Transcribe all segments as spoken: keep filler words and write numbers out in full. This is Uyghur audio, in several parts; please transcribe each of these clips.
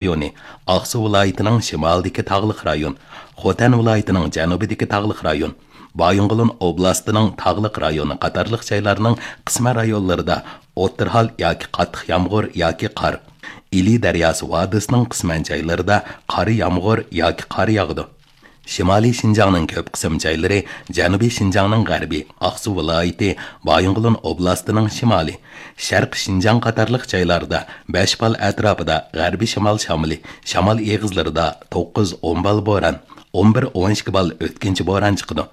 رايونى، ئاقسۇ ۋىلايىتىنىڭ شىمالىدىكى تاغلىق رايون، خوتەن ۋىلايىتىنىڭ جەنۇبىدىكى تاغلىق رايون، بايىنغولىن ئوبلاستىنىڭ تاغلىق رايونى قاتارلىق جايلارنىڭ قىسمەن رايونلىرىدا ئوتتۇرا ھال ياكى قاتتىق يامغۇر ياكى قار، ئىلى دەرياسى ۋادىسىنىڭ قىسمەن جايلىرىدا قارا يامغۇر ياكى قار ياغىدۇ. شىمالىي شىنجاڭنىڭ كۆپ قىسىم جايلىرى، جەنۇبىي شىنجاڭنىڭ غەربى، ئاقسۇ ۋىلايىتى، بايىنغولىن ئوبلاستىنىڭ شىمالى، شەرقىي شىنجاڭ قاتارلىق جايلاردا بەش بال ئەتراپىدا غەربىي شىمال شامىلى، شامال ئېغىزلىرىدا توققۇز، ئون بال بوران، ئون بىر، ئون ئىككى بال ئۆتكۈنچى بوران چىقىدۇ.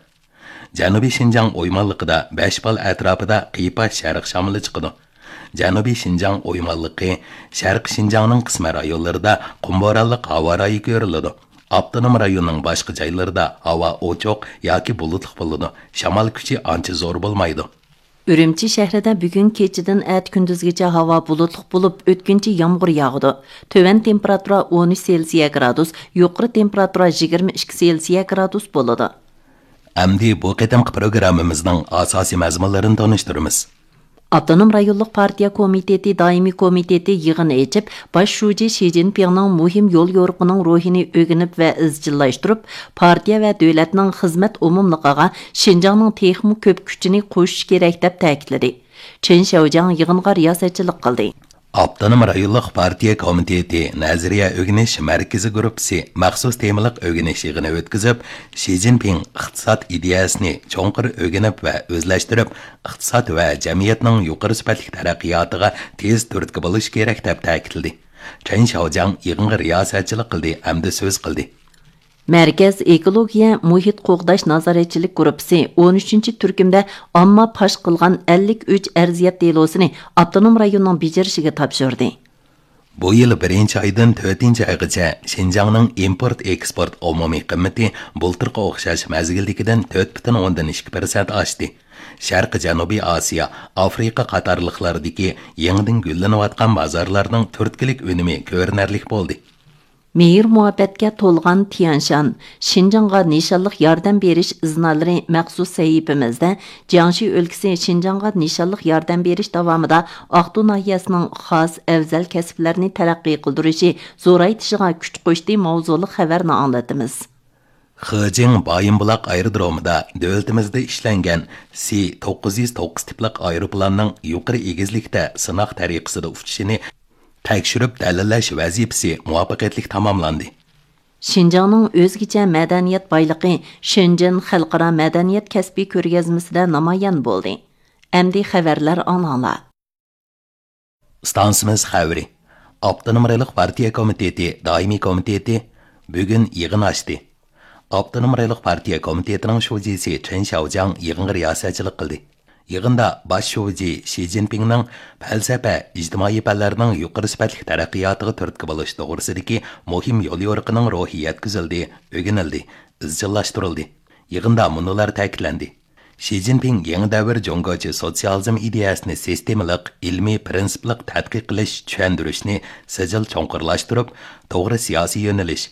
جەنۇبىي شىنجاڭ ئويمانلىقىدا بەش بال ئەتراپىدا قىيپاش شەرق شامىلى چىقىدۇ. جەنۇبىي شىنجاڭ ئويمانلىقى، شەرقىي شىنجاڭنىڭ قىسمەن رايونلىرىدا قۇم بورانلىق ھاۋا رايى كۆرۈلىدۇ. ئاپتونوم رايوننىڭ باشقا جايلىرىدا ھاۋا ئوچۇق ياكى بۇلۇتلۇق بولىدۇ، شامال كۈچى ئانچە زور بولمايدۇ. ئۈرۈمچى شەھىرىدە بۈگۈن كېچىدىن ئەتە كۈندۈزگىچە ھاۋا بۇلۇتلۇق بولۇپ، ئۆتكۈنچى يامغۇر ياغىدۇ. تۆۋەن تېمپېراتۇرا ئون ئۈچ سېلسىيە گرادۇس، يۇقىرى تېمپېراتۇرا يىگىرمە ئىككى سېلسىيە گرادۇس بولىدۇ. ئەمدى بۇ قېتىمقى پروگراممىمىزنىڭ ئاساسىي مەزمۇنلىرىنى تونۇشتۇرىمىز. ئاپتونوم رايونلۇق پارتىيە كومىتېتى دائىمىي كومىتېتى يىغىن ئېچىپ، باش شۇجى شى جىنپىڭنىڭ مۇھىم يول يورۇقىنىڭ روھىنى ئۆگىنىپ ۋە ئىزچىللاشتۇرۇپ، پارتىيە ۋە دۆلەتنىڭ خىزمەت ئومۇملۇقىغا شىنجاڭنىڭ تېخىمۇ كۆپ كۈچىنى قوشۇش كېرەك، دەپ تەكىتلىدى. چېن شياۋجياڭ يىغىنغا رىياسەتچىلىك قىلدى. ئاپتونوم رايونلۇق پارتىيە كومىتېتى نەزەرىيە ئۆگىنىش مەركىزى گۇرۇپپىسى مەخسۇس تېمىلىق ئۆگىنىش يىغىنى ئۆتكۈزۈپ، شى جىنپىڭ ئىقتىساد ئىدىيەسىنى چوڭقۇر ئۆگىنىپ ۋە ئۆزلەشتۈرۈپ، ئىقتىساد ۋە جەمئىيەتنىڭ يۇقىرى سۈپەتلىك تەرەققىياتىغا تېز تۈرتكە بولۇشى كېرەك، دەپ تەكىتلىدى. چېن شياۋجياڭ يىغىنغا رىياسەتچىلىك قىلدى ھەمدە سۆز قىلدى. مەركەز ئېكولوگىيە، مۇھىت قوغداش نازارەتچىلىك گۇرۇپپىسى ئون ئۈچىنچى تۈركۈمدە ئامما پاش قىلغان ئەللىك ئۈچ ئەرزىيەت دېلوسىنى ئاپتونوم رايوننىڭ بېجىرىشىگە تاپشۇردى. بۇ يىل بىرىنچى ئايدىن تۆتىنچى ئايغىچە شىنجاڭنىڭ ئىمپورت ئېكسپورت ئومۇمىي قىممىتى بۇلتۇرقى ئوخشاش مەزگىلدىكىدىن تۆت پۈتۈن ئوندىن ئىككى پىرسەنت ئاشتى. شەرقىي جەنۇبىي ئاسىيا، ئافرىقا قاتارلىقلاردىكى يېڭىدىن گۈللىنىۋاتقان بازارلارنىڭ تۈرتكىلىك ئۈنۈمى كۆرۈنەرلىك بولدى. مېھىر-مۇھەببەتكە تولغان تيەنشان، شىنجاڭغا نىشانلىق ياردەم بېرىش ئىزنالىرى مەخسۇس سەھىپىمىزدە، جياڭشى ئۆلكىسى شىنجاڭغا نىشانلىق ياردەم بېرىش داۋامىدا ئاقتۇ ناھىيەسىنىڭ خاس ئەۋزەل كەسىپلەرنى تەرەققىي قىلدۇرۇشى زورايتىشىغا كۈچ قوشتى ماۋزۇلۇق خەۋەرنى ئاڭلىتىمىز. خېجىڭ بايىنبۇلاق ئايرودرومىدا دۆلىتىمىزدە ئىشلەنگەن سى توققۇز يۈز توققۇز تىپلىق ئايروپىلاننىڭ يۇقىرى ئېگىزلىكتە سىناق تەرىقىسىدە ئۇچۇشىنى تەكشۈرۈپ دەلىللەش ۋەزىپىسى مۇۋەپپەقىيەتلىك تاماملاندى. شىنجاڭنىڭ ئۆزگىچە مەدەنىيەت بايلىقى شېنجېن خەلقئارا مەدەنىيەت كەسپىي كۆرگەزمىسىدە نامايان بولدى. ئەمدى خەۋەرلەر ئاڭلاڭلار. ئىستانسىمىز خەۋىرى. ئاپتونوم رايونلۇق پارتىيە كومىتېتى دائىمىي كومىتېتى بۈگۈن يىغىن ئاچتى. ئاپتونوم رايونلۇق پارتىيە كومىتېتىنىڭ شۇجىسى چېن شياۋجياڭ يىغىنغا رىياسەتچىلىك قىلدى. يىغىندا باش شۇجى شى جىنپىڭنىڭ پەلسەپە، ئىجتىمائىي پەنلەرنىڭ يۇقىرى سۈپەتلىك تەرەققىياتىغا تۈرتكە بولۇش توغرىسىدىكى مۇھىم يوليورۇقىنىڭ روھى يەتكۈزۈلدى، ئۆگىنىلدى، ئىزچىللاشتۇرۇلدى. يىغىندا مۇنۇلار تەكىتلەندى. شى جىنپىڭ يېڭى دەۋر جۇڭگوچە سوتسىيالىزم ئىدىيەسىنى سىستېمىلىق، ئىلمىي پىرىنسىپلىق تەتقىق قىلىش، چۈشەندۈرۈشنى سىجىل چوڭقۇرلاشتۇرۇپ، توغرا سىياسىي يۆنىلىش،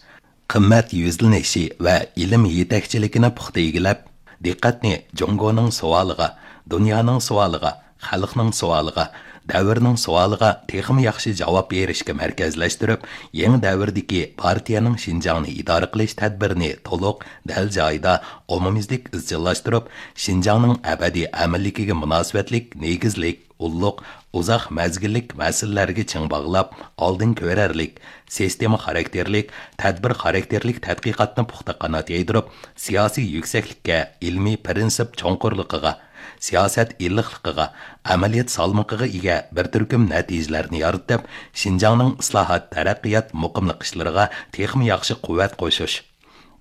قىممەت يۈزلىنىشى ۋە ئىلىم يېتەكچىلىكىنى پۇختا ئىگىلەپ، دىققەتنى جۇڭگونىڭ سوئالىغا، دۇنيانىڭ سوئالىغا، خەلقنىڭ سوئالىغا، دەۋرنىڭ سوئالىغا تېخىمۇ ياخشى جاۋاب بېرىشكە مەركەزلەشتۈرۈپ، يېڭى دەۋردىكى پارتىيەنىڭ شىنجاڭنى ئىدارە قىلىش تەدبىرىنى تولۇق، دەل جايىدا، ئومۇميۈزلۈك ئىزچىللاشتۇرۇپ، شىنجاڭنىڭ ئەبەدىي ئەمىنلىكىگە مۇناسىۋەتلىك نېگىزلىك، ئۇللۇق، ئۇزاق مەزگىللىك مەسىلىلەرگە چىڭ باغلاپ، ئالدىن كۆرەرلىك، سىستېما خاراكتېرلىك، تەدبىر خاراكتېرلىك تەتقىقاتنى پۇختا قانات يايدۇرۇپ، سىياسىي يۈكسەكلىككە، ئىلمىي پىرىنسىپ چوڭقۇرلۇقىغا، سىياسەت ئىللىقلىقىغا، ئەمەلىيەت سالمىقىغا ئىگە بىر تۈركۈم نەتىجىلەرنى يارىتىپ، شىنجاڭنىڭ ئىسلاھات، تەرەققىيات، مۇقىملىق ئىشلىرىغا تېخىمۇ ياخشى قۇۋۋەت قوشۇش،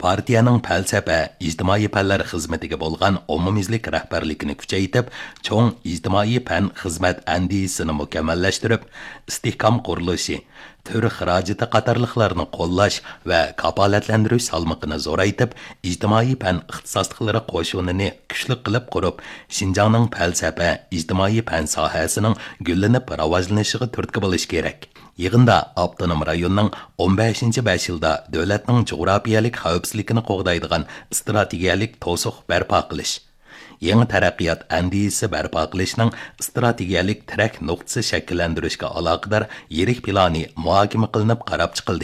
پارتىيەنىڭ پەلسەپە، ئىجتىمائىي پەنلەر خىزمىتىگە بولغان ئومۇميۈزلۈك رەھبەرلىكىنى كۈچەيتىپ، چوڭ ئىجتىمائىي پەن خىزمەت ئەندىزىسىنى مۇكەممەللەشتۈرۈپ، ئىستىھكام قۇرۇلۇشى، تۈر خىراجىتى قاتارلىقلارنى قوللاش ۋە كاپالەتلەندۈرۈش سالمىقىنى زورايتىپ، ئىجتىمائىي پەن ئىختىساسلىقلىرى قوشۇنىنى كۈچلۈك قىلىپ قۇرۇپ، شىنجاڭنىڭ پەلسەپە، ئىجتىمائىي پەن ساھەسىنىڭ گۈللىنىپ راۋاجلىنىشىغا تۈرتكە بولۇش كېرەك. يىغىندا ئاپتونوم رايوننىڭ ئون بەشىنچى بەش يىلدا دۆلەتنىڭ جۇغراپىيەلىك خەۋپسىزلىكىنى قوغدايدىغان ئىستراتېگىيەلىك توسۇق بەرپا قىلىش، يېڭى تەرەققىيات ئەندىزىسى بەرپا قىلىشنىڭ ئىستراتېگىيەلىك تىرەك نۇقتىسى شەكىللەندۈرۈشكە ئالاقىدار يىرىك پىلانى مۇھاكىمە قىلىنىپ قاراپ چىقىلدى.